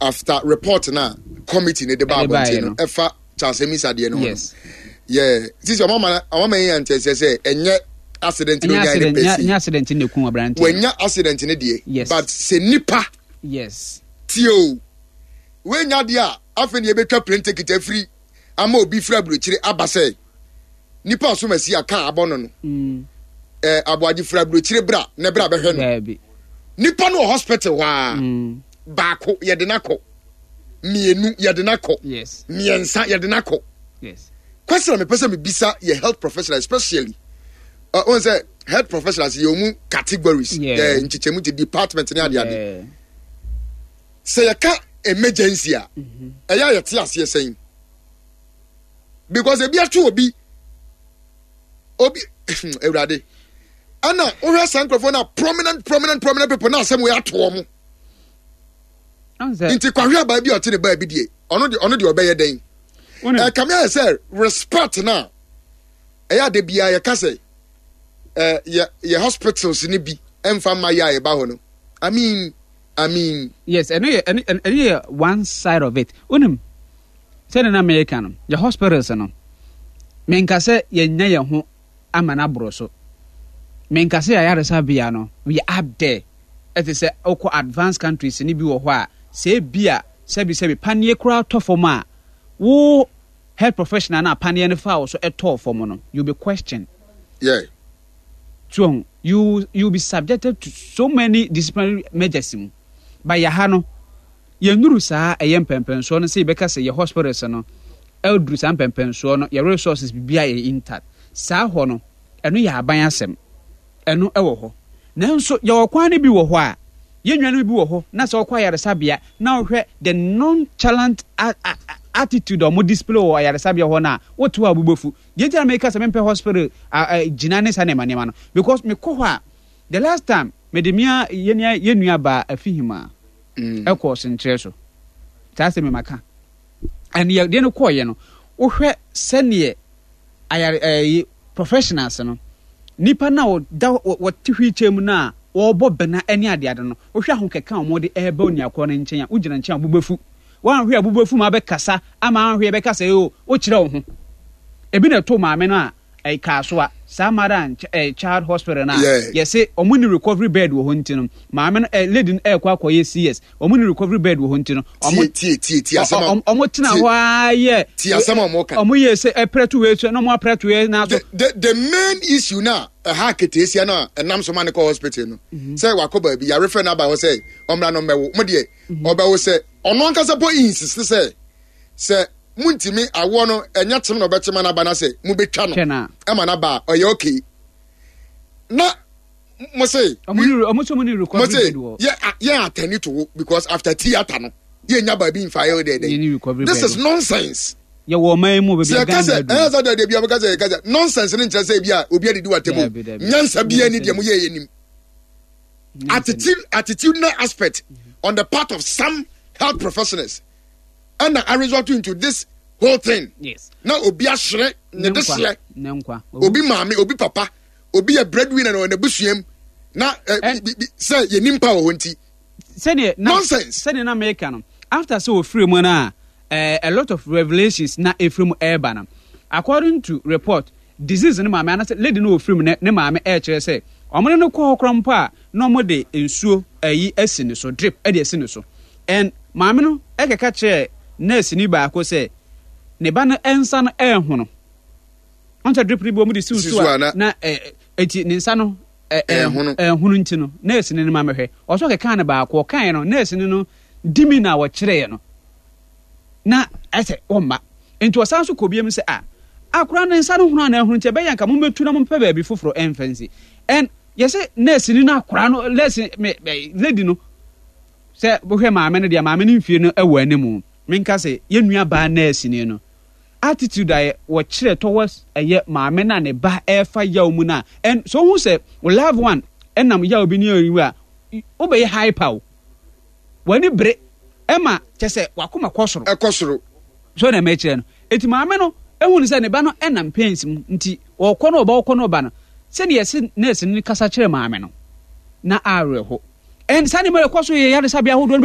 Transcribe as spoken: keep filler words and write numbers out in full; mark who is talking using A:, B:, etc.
A: After report na committee ne de ba
B: Ɛde baeɛ
A: abɔnten no
B: no.
A: ɛfa Charles Amissah deɛ no ho no,
B: Yes.
A: yeah, sisi ɔmo ama ɔmo ama yɛn nkyɛn sɛ ɛnyɛ accident no
B: Ɛnyɛ
A: nya ne
B: accident, nyɛ
A: pɛsi
B: nyɛ accident na ekum aberante no.
A: Wɔnya accident ne deɛ,
B: Yes.
A: but sɛ nipa
B: Yes.
A: tie o, wenya deɛ a, afei ne yɛbɛtwa plane ticket afiri ama obi firi aburokyire aba sɛ nipa asom asi a kaa abɔ no no
B: Mm.
A: ɛɛ aboagye firi aburokyire bra na bra bɛhwɛ no.
B: Daabi.
A: Nipa no wɔ hospital hɔ a,
B: Mm.
A: baako yɛde n'akɔ, mmienu yɛde n'akɔ,
B: Yes.
A: mmiɛnsa yɛde n'akɔ.
B: Yes.
A: Question a mepɛ sɛ mebisa yɛ health professional, especially uh, wɔn sɛ health professionals yɛ ɔmu categories,
B: Yeah.
A: eh, nkyekyɛmu ti department ne adeade.
B: Yeah.
A: Sɛ yɛka emergency a, ɛyɛ a yɛte aseɛ sɛn? Because ebi ato obi obi Awurade, ɛna wohwɛ saa nkurɔfoɔ no a, prominent prominent prominent people na asɛm wei ato wɔn.
B: Ɔn sɛ
A: nti kwahwe abaa bi a ɔte ne baa bi deɛ, ɔno deɛ ɔno deɛ ɔbɛyɛ dɛn?
B: Wonim-
A: Ɛkame ayɛ sɛ respect na ɛyɛ ade biara yɛka sɛ ɛ yɛ yɛ hospitals ne bi ɛmfa mma yɛ a yɛba hɔ no, i mean i mean
B: Yes, ɛno yɛ ɛno ɛno yɛ one side of it. Wonim sɛde na mɛka no, yɛ hospitals no, menka sɛ yɛnya yɛn ho ama no aboro so, menka sɛ yɛayaresabea no we are up there. Ɛte sɛ wokɔ advanced countries ne bi wɔ hɔ a, sɛ ebi a sɛbi sɛbi paneɛ koraa tɔ fam a, wo health professional na paneɛ no fa wo so ɛtɔɔ fam no, you be questioned.
A: yeah
B: So you you be subjected to so many disciplinary measures mu. But yɛ ha no, yɛnnuru saa ɛyɛ mpɛmpɛnsoɔ no sɛ yɛbɛka sɛ yɛ hospitals no ɛduru saa mpɛmpɛnsoɔ no. Yɛ resources biribiara yɛ intact saa hɔ no, ɛno yɛ aban asɛm, ɛno ɛwɔ hɔ. Nanso yɛwɔ kwan no bi wɔ hɔ a, yɛn nuanom bi wɔ hɔ na sɛ wɔkɔ ayaresabea na wɔhwɛ the nonchalant a- a- a- attitude a wɔn display wɔ ayaresabea hɔ no a, wote hɔ a wobɛfu. Deɛ nti na meka sɛ mempɛ hospital a- a, gyina ne saa nneɛma nneɛma no, because mekɔ hɔ a, the last time mede mea yɛn yɛn nua baa Afihima
A: mm.
B: ɛkɔɔ senkyerɛ so saa sɛ memaka ɛne yɛ deɛ no kɔɔyɛ no, wohwɛ sɛneɛ ayare ɛyi professionals no, nipa na ɔda wɔ- wɔte wheelchair mu no a wɔrebɔ bɛna ne adeade no, wohwɛ ahokeka a wɔde ɛreba oniakorɔ no nkyɛn a, wogyina nkyɛn a wobɛfu woanhwɛ a, wobɛfu ma abɛkasa ama anhwɛ yɛbɛkasa yi o, wokyerɛ wo ho. Ebi na ɛto maame no a ɛyɛ kaa so a saa mother and ch eh, child hospital no a
A: Yeah.
B: yɛse ɔmo ne recovery bed wɔ hɔ nti no, maame no eh, lady no ɛɛkɔ akɔyɛ C S, ɔmo ne recovery bed wɔ hɔ nti no, ɔmo
A: tie tie tie tie asɛm a
B: ɔ- ɔ- ɔmo tena
A: tie-
B: hɔ ara yɛ
A: tie asɛm a ɔmo ka.
B: Ɔmo yɛ sɛ ɛprɛto wei so na ɔmo aprɛto wei na so.
A: the the the main issue na ɛha keteesia no a ɛnam so ma ne kɔ hospital no sɛ wakɔ baabi yarefɛ no aba hɔ sɛ ɔmmra no mmɛwo mo deɛ, ɔbɛwo sɛ ɔno ankasa po insist sɛ sɛ muntimi awoɔ no ɛnyɛ kyem na ɔbɛkyem no aba na sɛ mobɛtwa no
B: twɛ na
A: ɛma no aba a, ɔyɛ okay na mo se
B: ɔmo ne ɔmo sɛ ɔmo ne
A: mo
B: recovery
A: se
B: bed wɔ
A: yɛ yɛ attend to wo because after theatre no yɛnya baabi mfa yɛ dɛ
B: yɛ ne
A: dɛ
B: recovery
A: This
B: bed
A: is
B: wɔ.
A: nonsense.
B: Yɛwɔ ɔman yi mu baabi
A: Sɛ
B: a
A: yɛka
B: Ghana
A: sɛ
B: aduru.
A: ɛyɛ sɛ dɛ bi a bɛka sɛ yɛka sɛ nonsense ne nkyerɛ sɛ bi a obi adidi wɔ
B: Dabi,
A: atɛmu
B: dabi.
A: nyansa bia ni deɛ mo yɛ yɛ nim.
B: Nyansa ni.
A: Attitude attitudinal aspect on the part of some health professionals ɛna a result into this whole thing
B: yes
A: na obi ahyerɛ ne de
B: nkwa
A: seɛ
B: ne nkwa.
A: Obi maame, obi papa, obi yɛ breadwinner na ɔwɔ n'abusuam na ɛ
B: Ɛn-
A: bi- bi- sɛ yɛ nimpa wɔ hɔ nti
B: sɛdeɛ na
A: Nonsense.
B: Sɛdeɛ na meka no, after sɛ ofiri mu no a, eh, a lot of revelations na efiri mu ɛreba no, according to report, disease ne maame anasɛ lady no ofiri mu ne ne maame ɛrekyerɛ sɛ ɔmo ne no kɔ hɔ koraa mpo a, na ɔmo de nsuo ɛyi asi ne so, drip ɛde asi ne so, and maame no ɛkeka kyerɛ nurse ni baako sɛ ne ba no nsa no ɛɛhono. Ɔn sɛ drip no bi wɔn de si
A: Si
B: so
A: so
B: a
A: a na-
B: na ɛ eti ne nsa no ɛ
A: ɛɛhono.
B: Ɛɛhono nti no, nurse ni no ma mɛhwɛ ɔsɔ keka ne baako ɔkae no, nurse ni no dimi na wɔkyerɛɛ no na ɛsɛ ɔmma nti ɔsan so kɔ biem sɛ a akora ne nsa no hono ana ɛhono nti ɛbɛyɛ nka mommɛtu na mompɛ baabi foforɔ ɛmfa nsi. And yɛsɛ nurse ni no akora no, nurse me me lady no, sɛ wohwɛ maame no deɛ, maame no mfie no ɛwɔ anim. Menka sɛ yɛn nua baa nurse ni no attitude a wɔkyerɛ towards ɛyɛ maame no a ne ba ɛrefa yaw mu no a, and so wohu sɛ wo loved one ɛnam yaw bi ne ɛyi a, wobɛyɛ hyper o, w'ani bere ɛma kyɛ sɛ wakoma kɔ soro.
A: Ɛkɔ soro.
B: So na ɛmɛkyerɛ no, eti maame no ehu ne sɛ ne ba no ɛnam pains mu nti ɔkɔ no ɔba, ɔkɔ no ɔba no, sɛdeɛ yɛsi nurse no kasa kyerɛ maame no na awerɛho. And saa nneɛma ɛkɔ so yɛ yaresabea ahodoɔ no.